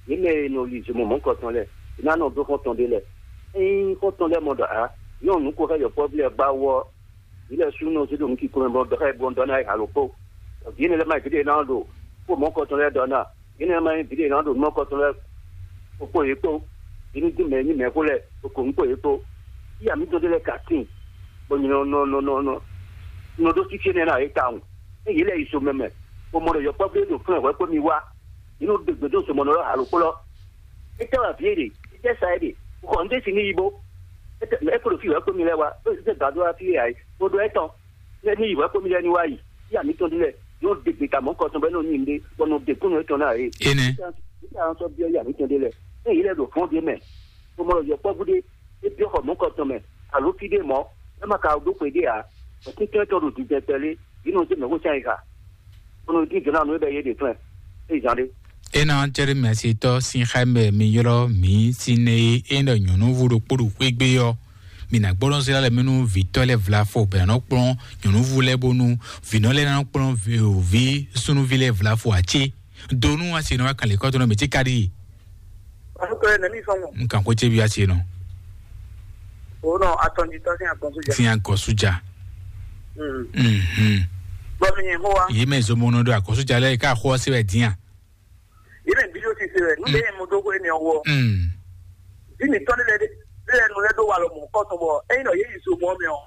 yě mɛ e nɔ li zomɔ mɔ̌kɔtɔn lɛ́ɛ, yě ná nɔ dó xɔ́ntɔn ɖé lɛ́ɛ. Ényí xɔ́ntɔn lɛ́ɛ mɔ ɖɔ ǎ, nyɔ́nu nukún xá yɔkpɔ́vú lɛ́ɛ gbá wú ɔ́, yě lɛ́ sú nɔ zé ɖo nǔ kíkó mɛ bɔ dɔ xá yě bɔ dɔ ná yi halo kpó. Vǐ énɛ́ lɛ́ɛ má nyí vǐ ɖé ná ɖo kpó mɔ̌kɔtɔn lɛ́ɛ dɔ ná, vǐ énɛ́ lɛ́ɛ má nyí vǐ ɖé ná ɖo mɔ̌kɔtɔn lɛ́ɛ kpó kpó yě kpó. Yě ní dín mɛ nyí mɛ xó lɛ́ɛ kpó kpó yě kpó. Yí amǐtɔn ɖé lɛ́ɛ ka tíin, bɔ nyɛ nɔ nɔ nɔ nɔ nɔ nɔ ɖó fífí énɛ́ ná yě tawun. Ényí yě lɛ́ yi zomɛ mɛ, bó mɔ ɖɔ yɔkpɔ́vú e ɖo flɛ́n hwɛ̌ kpó mi wá, yě nɔ ɖe gbe dó zomɔnɔ lɔ́ alo kplɔ́. Étɛ́ wɛ avǐ e ɖe, étɛ́ sa é ɖe, xɔ nǔɖé sin ní yi bó. Étɛ́ é kó ɖo fí hwɛ̌ kpó mi lɛ́ɛ wá, é zé gǎn dó wá fí é ǎ é, bó ɖɔ étɔn, lɛ́ ní yi hwɛ̌ kpó mi lɛ́ɛ ní wá yi, yí amǐtɔn ɖé lɛ́ɛ, yě nɔ ɖe gbe ta mɔ̌ kɔ tɔn bɔ é nɔ nyi nǔɖé, bɔ nɔ ɖe kúnnu étɔn ná ǎ é. Énɛ́. Étɛ́ sɔ́ byɔ́ yí amǐtɔn ɖé lɛ́ɛ, ényí yě lɛ́ ɖo fɔ́n ɖé mɛ, bó mɔ ɖɔ yɔkpɔ́vú ɖé, é byɔ́ xɔ mɔ̌ kɔ tɔn mɛ, alo fí ɖé mɔ̌, é ma ka ɖó xwe ɖé ǎ, bɔ tɛ́ntɛ́n tɔn ɖo dindɛn kpɛlé, yě nɔ zé mɛ̌ xó sɛn yi xa. Kono dín jǒ ná nú é bɛ yé ɖe flɛ́n, é zán ɖé. Ena cɛɖe mɛsitɔ sin xá mɛ mi ylɔ́ mǐ sín nɛ e é ɖɔ nyɔ̌nuví ɖokpó ɖo xwé gbé ɔ́, mi nǎ gbɔ́ nɔ zlá lɛ mɛ nú vǐtɔ́ lɛ́ɛ vlafo bɛ nɔ kplɔ́n nyɔ̌nuví lɛ́ɛ bónú vǐnɔ lɛ́ɛ ná kplɔ́n vǐ súnúví lɛ́ɛ vlafo ǎ cé? Do nú asi nɔ wá kan lě kɔ́tɔ́ nɔ mǐ cí káɖí. Ɔnukɛ nɛ mi fɔn mɔ. N kan xwé cé bi asi nɔ. O nɔ atɔnjitɔ sin akɔnsu ja. Sin akɔnsu ja. Mhm. Bɔ mi nyɛ xó wa. Yé mɛ zomɔnɔ ɖo akɔnsu ja lɛ ká xó ɔsɛ wɛ dinya. Yé mɛ bi yóò ti se wɛ nu bɛ yɛ mo dó xó ne wɔ. Bi mi tɔn lɛ de lɛ nu lɛ do wa lɔ mɔ kɔsɔn bɔ eyin nɔ yé yi zomɔ mɛ ɔ.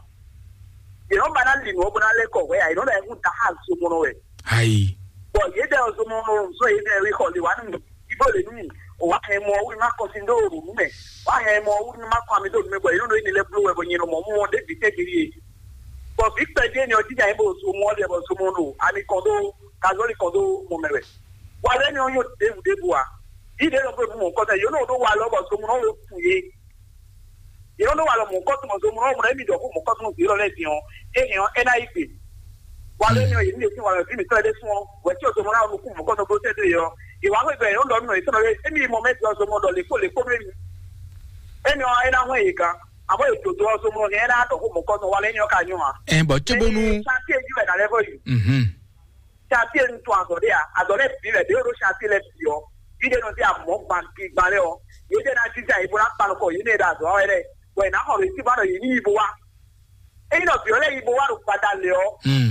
Yé nɔ ba na li nɔ bɔ na lɛ kɔ wɛ ayi nɔ lɛ hu da ha zomɔnɔ wɛ. Ayi. Bɔ yé dɛ zomɔnɔ zɔ yé dɛ wi xɔ li wa nu. Ibo le nu o wa hɛn mɔ wu ma kɔsi do o nu mɛ. Wa hɛn mɔ wu ma kɔ ami do nu mɛ bɔ yé nɔ do yi ni lɛ blo wɛ bɔ nyɛ nɔ mɔ mu wɔn de bi tɛ giri ye. Bɔ bi kpɛ die ni ɔ jija yɛ bo so mɔ de bɔ so mɔ do ami kɔn do kazɔli kɔn do mɔ mɛ wɛ. Wa lɛ ni ɔ yɔ debu debu a. Yi de lɔ bo mu mɔ kɔsɛ yɔ nɔ do wa lɔ bɔ so mɔ nɔ wo kun ye. Yě nɔ ɖó walɔ mɔ̌kɔtɔn zomlɔ́mlɔ́ émí ɖɔ xó mɔ̌kɔtɔn vǐ lɔ lɛ́ɛ din ɔ́, é hɛn ɔ́, é ná yi gbe. Walɔ énɛ́ ɔ́, yě ní ɖe sín walɔ vǐ mǐtɔn lɛ́ɛ ɖésú ɔ́, hwɛ̌ tí ɔ́ zomlɔ́ ná nukún mɔ̌kɔtɔn dó sɛ́ dó yě ɔ́, yě wá xwé gbɛ yě nɔ ɖɔ nú nɔ yětɔn lɔ émí yi mɔ mɛ dó ɔ́ zomlɔ ɖɔ lě kpó lě kpó nú émí. Énɛ́ ɔ́, é ná hwɛ́n yě gán, àmọ́ yě dǒdó ɔ́ zomlɔ hɛn é ná ɖɔ xó mɔ̌kɔtɔn walɔ énɛ́ ɔ́ ka nyɔ́ ǎ. Ɛ bɔ cóbónú. Ṣáàtì èyí wɛ nà lɛ́ vɔ yi. Mhm. Ṣáàtì èyí ń tún azɔ̌ ɖé à, azɔ̌ lɛ́ɛ bǐ lɛ̌ ɖé ɖó ṣáàtì lɛ́ɛ bǐ ɔ́, bí ɖé nɔ dí àmọ́ gbangban lɛ́ɛ ɔ́, yě ɖé ná jínjɔ́n ayǐ bó ná kpa nukɔn yě ní e ɖo azɔ̌ wa wɛ lɛ́ɛ. Bɔ è nǎ xɔ ɖo yě cí bá ɖɔ yě ní yi bo wá. Ényí nɔ vǐ ɔ́ lɛ́ yi bo wá ɖo gbada lě ɔ́,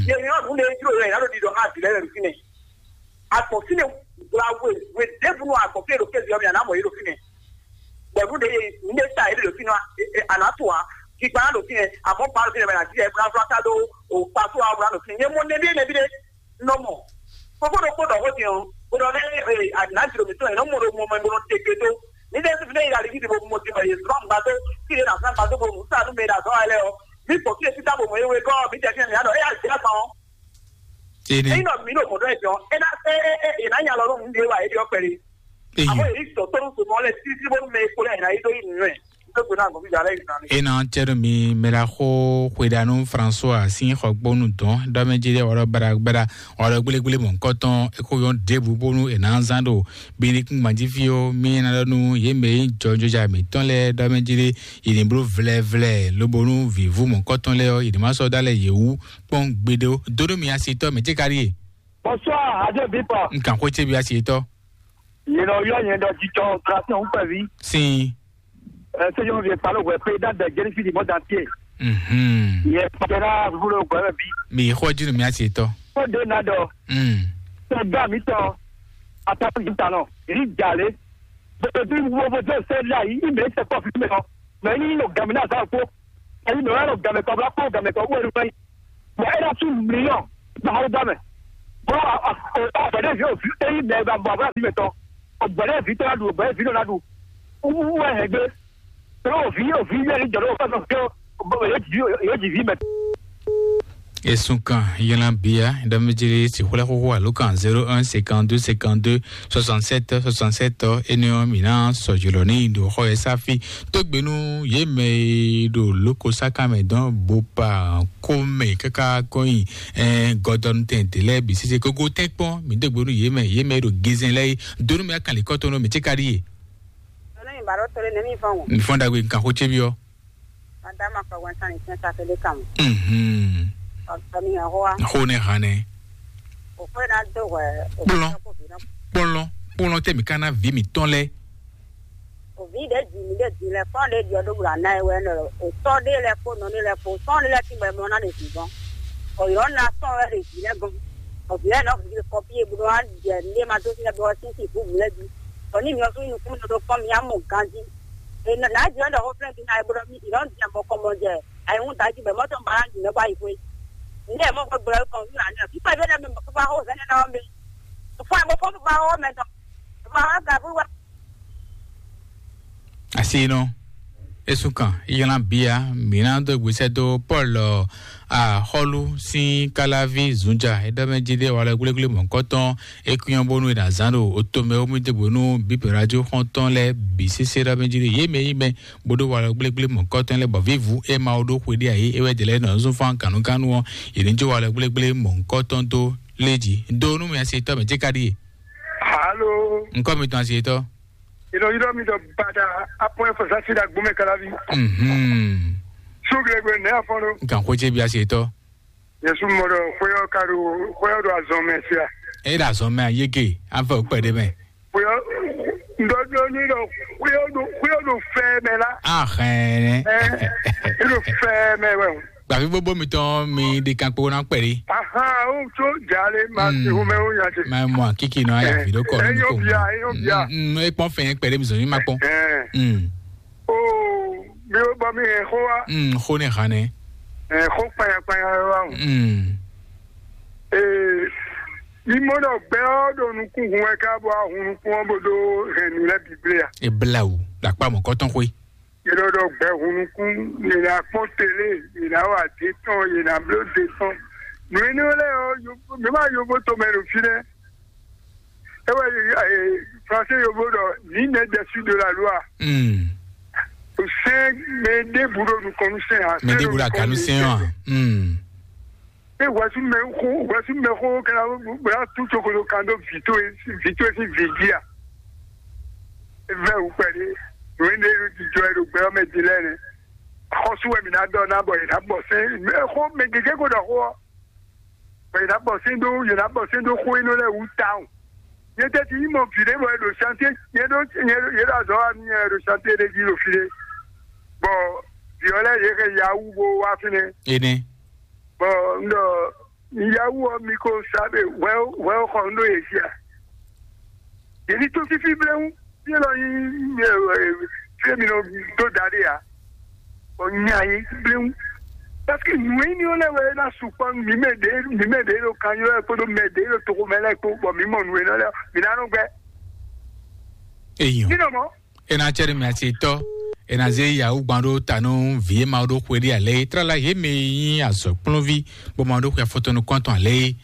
yě hɛn ɔ́ nǔ ɖé jló yɛ è nǎ ɖo ɖiɖɔ xá vǐ lɛ́ɛ lɛ́ɛ ɖo fínɛ́. Agbɔ̌n fínɛ́ hwla we we ɖěbǔ nú agbɔ̌n fínɛ́ ɖo kéze ɔ́ mɛ, a nǎ mɔ yě ɖo fínɛ́. Bɔ nǔ ɖé nǔ ɖé sa yě ɖe ɖo fínɛ́, a nǎ tunwun ǎ. Kikpa ɖo fínɛ́, abɔ̌ kpa ɖo fínɛ́ mɛ nǎ jí yɛ bla flata ɖó o kpa tó wa wla ɖo fínɛ́. Nyɛ mɔ nɛɖé nɛbí ɖé nɔ mɔ. Fofó ɖokpó ɖɔ xó din ɔ́, bó ɖɔ lɛ́ e anǎjlo mǐtɔn yě nɔ mɔ ɖo mɔ mɛ bó nɔ te gbe dó. Ní ɖé fífi ɖé yi ali fífi bó mɔ din bɔ yě zlɔ́ gbadó, fí ɖé nǎ zán gbadó bó nǔ sa nú mɛ ɖo azɔ̌ wa lɛ́ɛ ɔ́. Mǐ gbɔ fí e fífá bó mɔ é wegɔ́ ɔ́, mǐ jɛ fí mɛ mǐ ɖɔ éyá jɛ agban ɔ́. Ényí nɔ mǐ ɖo mɔ̌ ɖɔ ɛ jɔ, é ná é é é è nǎ nya lɔ nú nǔɖé wa é ɖe ɔ́ kpɛɖé. Àmọ́ èyí sɔ̀tɔ́ nú sòmọ́ lɛ títíbó nú mɛ e kpo lɛ è nǎ yi dó yi nǔnywɛ́. Ló gbóná àgọ́ fíjà lẹ́yìn náà ni. Ena cɛɖo mi mɛɖaxo xweɖanu François sín xɔgbónu dɔn ɖɔmɛjide ɔɖɔ baragbara ɔɖɔ gblégblémɔ kɔtɔn eko yɔn ɖěbǔ bónú è nǎ zán ɖo bíníkúngban jí fí ó mí ná ɖɔ nú yě mɛ e nyí jɔjɔja mǐtɔn lɛ́ɛ ɖɔmɛjide yě ní bló vlɛvlɛ lobónú vǐvú mɔ̌kɔtɔn lɛ́ɛ ɔ́ yě ní ma sɔ́ dó alɛ yě wú kpɔ́n gbeɖé ó. Dó ɖó mi asitɔ́ mɛ cékaɖíe. Bonsoir, Radio Bipa. N kan xwé ce bi asi tɔ. Yénɔ yɔ nyɛ ɖɔ jijɔ grâce ŋu kpɛvi. Sin. Ɛ sɛ yɔn vie palo wɛ pe da dɛ jɛni fi di mɔ dan tie. Mhm. Yɛ pɛna vulo gbɛ bi. Mi xɔ jinu mi asi tɔ. Ko de na dɔ. Mm. Sɛ ga mi tɔ. Ata mi ta nɔ. Ri jale. Bɛtɛ bi wo bo de sɛ la yi. I mɛ sɛ kɔfi mɛ nɔ. Mɛ ni no gamina sa ko. Ayi mɛ wɛ no gamɛ kɔ bla ko gamɛ kɔ wo ru fɛ. Mɛ e na su miliɔn na hawu da mɛ. Bɔ a a a bɛnɛ vi o vi eyi mɛ ba bɔ abla vi mɛ tɔ. O bɛnɛ vi tɔ na du, o bɛnɛ vi tɔ na du. Wu wu wɛ hɛn gbe. Tɔ o vi o vi yɛ ni jɔ o fɛ sɔ ke o bɔ yɛ ji vi yɛ ji vi mɛ. Esun kan yɛlɛn bia dɔmɛdzi si xwlɛ xoxo alo kan zéro un cinquante-deux cinquante-deux soixante-sept soixante-sept. Eniɔ mina sɔjulɔ ni do xɔ yɛ safi. Tógbénu yě mɛ e ɖo lóko sáká mɛ dɔn bo pa kó mɛ káká kɔnyi. Ɛn gɔdɔnu tɛn tɛ lɛ bi sise kókó tɛn kpɔn mi dógbénu yě mɛ yě mɛ e ɖo gézɛn lɛ yi. Donu mɛ akali kɔtɔnu mi tsi ka ɖi ye. Ọlọ́run ìbá ló torí ní mi fọ́n wò. Nfɔn dagbe nkan xó tse bi ɔ. Madame Akpagwan Sani Tiɲɛ Safele Kamu. Mhm. Ọ̀tọ̀ mi yàn hó wa. Xó ne hàn nɛ. Òkú ẹ̀ náà dó wẹ̀. Kplɔn kplɔn kplɔn tɛ mi ka na vi mi tɔn lɛ. Òbí ɖé dzi mi ɖé dzi lɛ fɔ́n ɖé ɖiɔ ɖó bla ná ɛ wɛ nɔ. Òtɔ́ ɖé lɛ kpó nɔ ɖé lɛ kpó sɔ́n ɖé lɛ tíngbɛ mɔ ná ɖe zǐn gɔ́n. Ọ̀yọ́ ná sɔ́n wɛ ɖe zǐn lɛ gɔ́n. Òbí lɛ nɔ fi kɔpí e bó wá jɛ ní ma dó sí lɛ bó wá sí sí búbu lɛ jí. Bɔ ní mi ɔ́ sún nukún mi ɖo kpɔ́n mi á mɔ ganjí. È nɔ nǎ jɛ ɖɔ xó flɛ́ dín ayé bó ɖɔ mì ìlɔ́ ń jɛ mɔ kɔmɔ jɛ ayé ń da jí bɛ mɔtɔ ma ná jù mɛ bá yi xwé. Ní ẹ̀ mɔ gbɛgbɛ kɔn fí wà ní ọ̀ fífá ìfẹ́ lẹ́mí mɔ fífá xó sẹ́ni náà mi. Fún ẹ̀ mọ fún fífá xó mẹ tán. Fífá xó gà fún wa. Asi nɔ esu kan ylan bia mina do gbèsè do Paul axɔlu sin kalavi zunja edɔmɛ jide wala gblégblémɔ kɔtɔn. Ekuyɔn bonu e na zan ɖo otomɛ wo mi debo nu bipe radio xɔntɔn lɛ bi sese ɖɔ mɛ jide ye mɛ yi mɛ bodo wala gblégblémɔ kɔtɔn lɛ bɔ vivu e ma wo ɖo xwe ɖi ayi e wɛ de lɛ nɔ zun fan kanukanu ɔ. Yeli jo wala gblégblémɔ kɔtɔn do leji do nu mi asi tɔ mɛ jika ɖi ye. Alo. Nkɔ mi tɔn asi tɔ. Ilo ilo mi dɔ bada apɔn efo sasi da gbome kalavi. Mhm. Suglegbe ne afɔn do. Nkan xwe ce bi asi tɔ. Yesu mɔ ɖɔ xwé ɔ́ ka ɖo xwé ɔ́ ɖo azɔn mɛ sia. E ɖo azɔn mɛ ayege avɛ o kpɛɖe mɛ. Xwé ɔ́ ŋdɔdɔ ní ɖɔ xwé ɔ́ ɖo xwé ɔ́ ɖo fɛ mɛ la. Ahɛn. Ɛ e ɖo fɛ mɛ wɛ o. Gbavi gbogbo mitɔn mi ɖe kan kpo na kpɛɖe. Ahan o tso jale ma ti xo mɛ o nya ce. Ma mɔ kiki nɔ ya vi ɖo kɔ. Eyo bia eyo bia. Ekpɔn fɛn kpɛɖe mi zɔn mi ma kpɔn. Ɛ. Mm. Oo, mi ò bɔ mi hɛn xó wá. Mm, xó ne hàn nɛ. Ɛ xó kpanya kpanya wá o. Mm. Ee, mi mɔ ɖɔ gbɛ ɔ́ ɖo nukún hun wɛ ká bɔ ahun nukún ɔ́ bó ɖó hɛn nǔ lɛ́ɛ bǐ blé a? E bla wǔ ɖo akpá mɔ̌kɔtɔn xwé. Yě ɖɔ ɖɔ gbɛ hun nukún, yě ná kpɔ́n télé, yě ná wa dé tɔn, yě ná bló dé tɔn. Nǔ énɛ́ lɛ́ɛ ɔ́, yovo, mi ma yovo tomɛ ɖo fínɛ́. É wɛ, eh, Français yovo ɖɔ, nǐ nɛ dɛsí de la loi. Mm. Sɛn mɛ ɖěbǔ ɖo nukɔn nú sɛn a. Mɛ ɖěbǔ ɖo aganu sɛn wa. Mm. E wɛsu mɛ xo wɛsu mɛ xo kɛra bla tu tokolo kan ɖo vǐ towe vǐ towe sín vǐ jí a. Vɛ wǔ kpɛɖé nǔ énɛ́ ɖo jijɔ ɛ ɖo gbɛ ɔ́ mɛ din lɛ́ɛ nɛ. Xɔ́sú wɛ mǐ ná ɖɔ ná bɔ è nǎ bɔ sɛn mɛ xó mɛ gěgé ko ɖɔ xó ɔ́. Bɔ yě ná bɔ sín ɖó yě ná bɔ sín ɖó xó énɛ́ lɛ́ɛ wú tawun. Nyɛ tɛ́ ti nyí mɔ vǐ ɖé bɔ è ɖo chantier, nyɛ ɖó nyɛ ɖó yě ɖo azɔ̌ wa nú nyɛ ɖo chantier ɖé jí ɖo fí ɖé. Bɔ vǐ ɔ́ lɛ́ɛ yě hɛn yahoo bó wá fínɛ́. Énɛ́. Bɔ un ɖɔ yahoo ɔ́ mi ko sa ɖe hwɛ hwɛ xɔ un ɖó yě jí a? Yě ní tó fífí bléwún. Fí élɔ́ nyí fí e mi nɔ dó da ɖé ǎ. Bɔ nya yě bléwún. Parce que nǔ énɛ́ lɛ́ɛ wɛ ná sukpɔ́ mǐ mɛ ɖě mǐ mɛ ɖě ɖo kanylɔ́ kpódó mɛ ɖě ɖo toxo mɛ lɛ́ɛ kpó bɔ mǐ mɔ nǔ énɛ́ lɛ́ɛ mǐ ná nɔ gbɛ. Eyɔn. Mí nɔ mɔ. Ena cɛ ɖe mɛ asi tɔ. Ena zé yawu gban ɖo ta nú vi e ma ɖo xwe ɖi alɛ yi. Trala yě mɛ yi nyí azɔ̌ kplɔ́nví bó ma ɖo xwe afɔtɔnu kɔntɔn alɛ yi.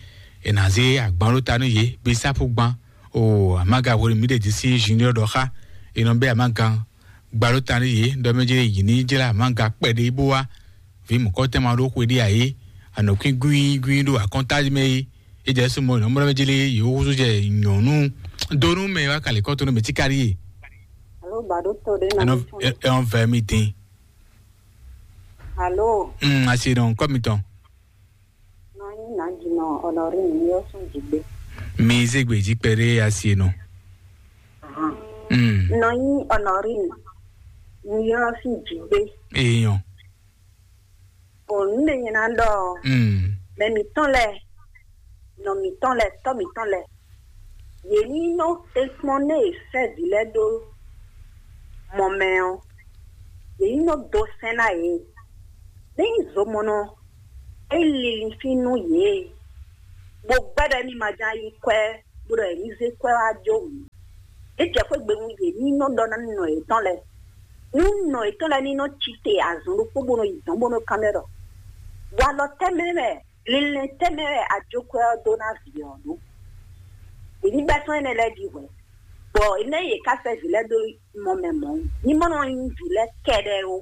Ena zé agban ɖo ta nú yě bí sápu gban. O amaga hwenu mǐ ɖe jí sí junior ɖɔ xá. Enɔ bɛ amaga gba ɖo ta nú yě ɖɔ mɛ jɛ yě ní jla amaga kpɛɖé bó wá. Vi mɔ̌kɔtɛn ma ɖo xwe ɖi ayé. Anɔkwín gwín gwín ɖo akɔnta mɛ yi. Ejɛ sumɔ nɔ mlɔ mɛ jele yewo xúsú jɛ nyɔnu donu mɛ wa kali kɔtɔnu mɛ tikari ye. Alo ba ɖo to ɖe na. Anɔ ɛn vɛ mi dín. Alo. Mm, asi nɔ nkɔ mi tɔn. Nɔ anyi na dzi nɔ ɔnɔ ri mi yɔ sún dzi gbé. Mi zé gbe jí kpɛɖé asi e nɔ. Mm. Nɔ nyí Honorine, nyí ɔ́ sín jǐgbé. Èèyàn. Bɔ nǔ ɖé nyɛ ná ɖɔ ɔ́, Mm. mɛ mǐtɔn lɛ́ɛ, nɔ mǐtɔn lɛ́ɛ, tɔ́ mǐtɔn lɛ́ɛ, yě ní nɔ tɛ́nkpɔ́n nú è sɛ́ vǐ lɛ́ɛ ɖó mɔ mɛ ɔ́, yě ní nɔ dó sɛ́n ná yě. Ní nyí zomɔnɔ é linlin fí nú yě, bó gbɛ́ ɖɔ émí ma ján yí kwɛ́, bó ɖɔ yě ní zé kwɛ́ wá jó mǐ. É jɛ xwé gbe nú yě ní nɔ ɖɔ ná nɔ yětɔn lɛ́ɛ. Nú nɔ yětɔn lɛ́ɛ ní nɔ cí te azɔn ɖokpó bó nɔ yi dɔ̌n bó nɔ kán mɛ ɖɔ walɔ tɛ́ mɛ wɛ, linlɛn tɛ́ mɛ wɛ a jó kwɛ́ ɔ́ dó ná vǐ ɔ́ ɖó. Yě ní bɛ́ tɔn énɛ́ lɛ́ɛ ɖi hwɛ̌, bɔ énɛ́ yě ká sɛ́ vǐ lɛ́ɛ dó mɔ mɛ mɔ̌. Ní mɔ nɔ nyí vǐ lɛ́ɛ kɛɖɛ́ ó,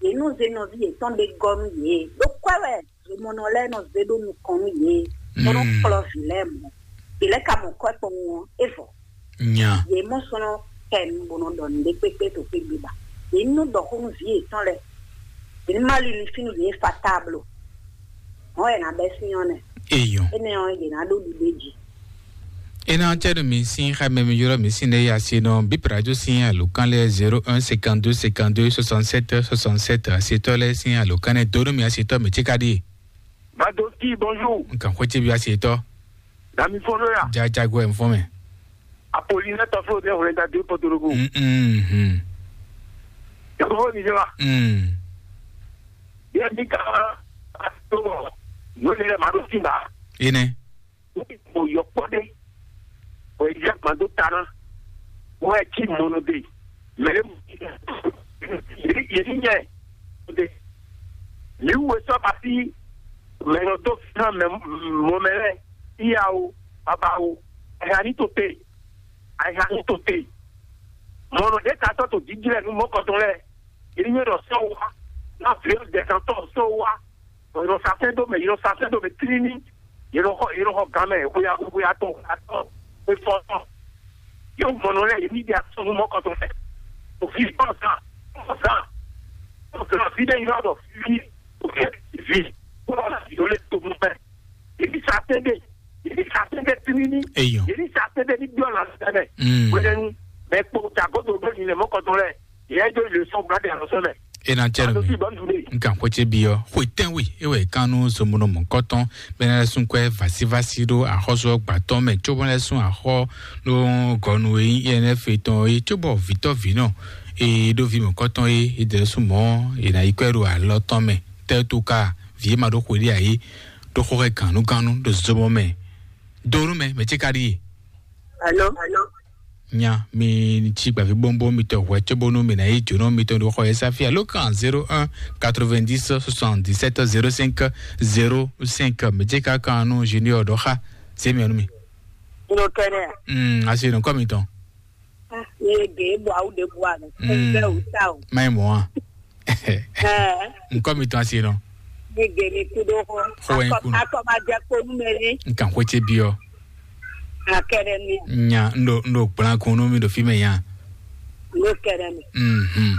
yě nɔ zé nɔví yětɔn ɖé gɔ́ nú yě, ɖó kwɛ́ wɛ zomɔnɔ lɛ́ɛ nɔ zé ɖó nukɔn nú yě, bó nɔ Mm. kplɔ́ vǐ lɛ́ɛ mɔ̌. Vǐ lɛ́ɛ ka mɔ kwɛ́ kpɔ́n ɔ́, é vɔ. Nya. Yě mɔ sɔ́ nɔ kɛ nu bó nɔ ɖɔ nǔɖé kpékpé to xwé gbe ba. Yě ní nɔ ɖɔ xó nú vǐ yětɔn lɛ́ɛ. Yě ní ma lin fí nú yě fa táblo. Mɔ̌ wɛ è nǎ bɛ́ sín ɔ́ nɛ́. Eyɔn. Énɛ́ ɔ́, yě ná ɖó ɖiɖe jí. Ena cɛɖo mi sin xa mɛ mi yɔrɔ mi sin ne ya si nɔ bip radio sin alo kan lɛ zéro un cinquante-deux cinquante-deux soixante-sept soixante-sept asetɔ lɛ sin alo kan ne donu mi asetɔ mi tsi ka di. Badoski, bonjour. Nkan xɔ tsi bi asetɔ. Dami fɔlɔ ya. Jajago ɛ fɔ mɛ. Apolinaire tɔflo de wɛrɛ da de potorogo. Mm. Tɔflo ni jɛ wa. Mm. Yɛ mi ka to no le ma do sin ba. Ene. Mo yɔ kpɔ de. O yi jɛ ma do ta na. Mo ɛ tsi mo no de. Mɛ ɖe yě ní nyɛ ɖe. Mǐ wú e sɔ́ ba fí mɛ nɔ dó fínfán mɛ mɔ mɛ lɛ́ɛ, iya o, baba o, ayǐha ní to te, ayǐha ní to te. Mɔ nɔ ɖě ka tɔ́ to jǐjlɛ́ nú mɔ̌kɔtɔn lɛ́ɛ, yě ní nyɛ ɖɔ sɔ́ wá, ná vǐ ɔ́ dɛ̌kantɔ́ sɔ́ wá. Yě nɔ sa sɛ́n dó mɛ, yě nɔ sa sɛ́n dó mɛ tlíní. Yě nɔ xɔ, yě nɔ xɔ gan mɛ, xwéyá, xwéyá tɔn, xwéyá tɔn, xwé fɔ́n tɔn. Yóò mɔ nɔ lɛ́ɛ, yě ní ɖi asɔ́ nú mɔ̌kɔtɔn fɛ. Òfin tɔn zan, tɔn zan, tɔn zan, fi ɖé yɔ ɖɔ fi, òfin fi, kó lɔ la yɔ lé to mɔ fɛ. Yě ní sa sɛ́n dé, yě ní sa sɛ́n dé tlíní. Eyɔn. Yě ní sa sɛ́n dé ní byɔ́ la sɛ́n mɛ. Mm. Wɛlɛnu, mɛ kpo ta gɔ́ dó bɛ́ mi lɛ mɔ̌kɔtɔn lɛ́ɛ. Yɛ jo le sɔn bla de alɔ sɔn mɛ. Ena cɛ no mi. Nkan ko ce bi ɔ xwe tɛn wi e wɛ kan nu somonɔ mɔkɔtɔn bɛna lɛ sun kwɛ vasivasi ɖo axɔsɔ gbatɔ mɛ tso bɔ lɛ sun axɔ ɖo gɔnu e yi ene fe tɔn e tso bɔ vitɔ vinɔ e ɖo vi mɔkɔtɔn e e de sun mɔ e na yi kwɛ ɖo alɔ tɔn mɛ tɛ to ka vi ma ɖo xwe ɖe ayi ɖo xɔ xɛ ganu ganu ɖo zomɔ mɛ do nu mɛ mɛ ce ka ɖi. Alo. Nya mi tsi gbavi bombo mi tɔ hwɛ tso bonu mi na yi dzono mi tɔ do xɔ yɛ safi alo kan zéro un quatre-vingt-dix soixante-dix-sept zéro cinq zéro cinq mi dze ka kan nu junior dɔ xa se mi anu mi. Ndo kɛnɛ. Mm, asi no kɔ mi tɔn. Ye de bu awu de bu anu. Mm. Be uta o. Mai mo a. Ɛ. Nkɔ mi tɔn asi nɔ. Mi gɛ mi kudo xɔ. Xɔ wɛ akɔ kunu. Akɔ ma jɛ kponu mɛ ni. Nkan xɔ tse bi ɔ. Akɛrɛ mi. Nya ndo ndo gblan kunu mi do fi mɛ ya. Ndo kɛrɛ mi. Mhm.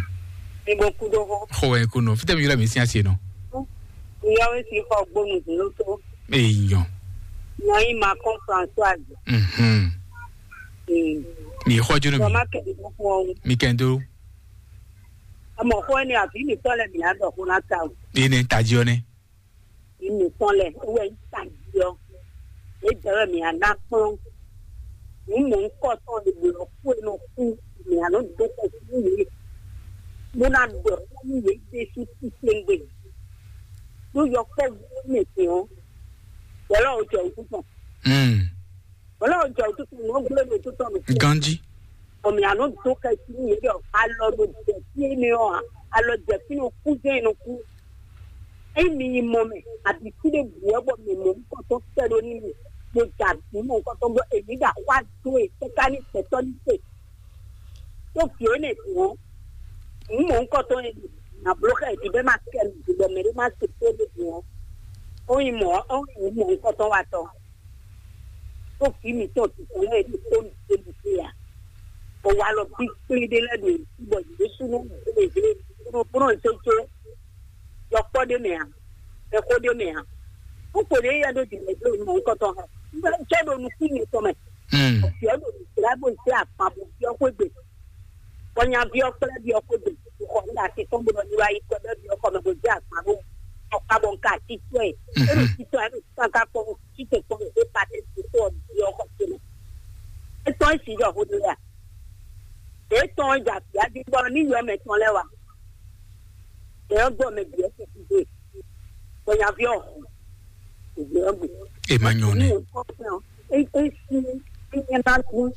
Mi bo kudo xɔ. Xɔ wɛ kunu fitɛ mi yɔrɔ mi si asi nɔ. Yɔwe si xɔ gbonu zolo to. Eyi nyɔ. Nɔ yi ma kɔn Françoise. Mhm. Mm. Mi xɔ jono mi. Kɔma kɛ mi kɔ. Mi kɛ ndo. Amɔ xɔ ni abi mi tɔ lɛ mi na dɔ xɔ na ta o. Ene taji ɔ nɛ. Yi mi tɔn lɛ wɛ yi taji ɔ. E dɛ wɛ mi ana kplɔn. Ni mɔ nkɔ tɔn de bo lɔ ku e nɔ ku mi anɔ do kɔ ku mi. Mo na dɔ ku mi ye de su ti sengbe. Do yɔ kɔ mi ti o. Wala o jɛ o ku tɔn. Mm. Wala o jɛ o tu tɔn o gble mi tu tɔn mi. Ganji. Ɔmi anɔ do kɛ si ni yɛrɛ alɔ do jɛ si ni ɔ alɔ jɛ si ni ku jɛ ni ku. Eyi mi yi mɔ mɛ abi si de bu ɛ bɔ mi mɔ nkɔtɔ kɛ do ni mi mo da mi mɔ nkɔtɔ bɔ emi da wa do e kɛka ni gbɛtɔ ni se. To fi ene ko mi mɔ nkɔtɔ ye na blo kɛ di bɛ ma kɛ mi di bɔ mɛ de ma se ko de ko. O yi mɔ o yi mɔ nkɔtɔ wa tɔ. Tó fi mi tɔn tuntun lɛ ɖo tó mi tó mi fi ya. O wa lɔ kpikpli ɖe lɛ ɖo bɔ Jesu nɔ ɖe ɖe kúrò kúrò nsó tso yɔkpɔ ɖe mɛ a, ɛkó ɖe mɛ a. Kókó ɖe ya ɖo dìgbà ɖo mɔ ŋkɔtɔ hã. Jɛ ɖo nukún mi tɔn mɛ. Fiɔ ɖo nukún la bó zé akpan bó fiɔ xwé gbe. Bɔ nyaví ɔ́ kplá bí ɔ́ xwé gbe. Xɔ ní ati tɔn bó nɔ ní wá yi kɔ bɛ bí ɔ́ kɔ mɛ bó zé akpan bó. Ɔkpa bɔ nka titɔ ɛ. Ero titɔ ɛ ero titɔ ka kpɔn titɔ kpɔn ɛ pa tɛ titɔ ɔ bí ɔ́ xɔ tɛnɛ. Etɔn esi yɔ xó de ya. Etɔn ɛ dza bia di bɔ ní yɔ mɛ tɔn lɛ wa. Ɛ ɔ́ gbɔ mɛ bia tɛ ti dé. Bɔ nyaví ɔ́ xɔ. Ìgbé ɔ́ gbé. E ma nyɔ nɛ. Ní o kɔ fún ɔ. E e si e nyɛ bá gún.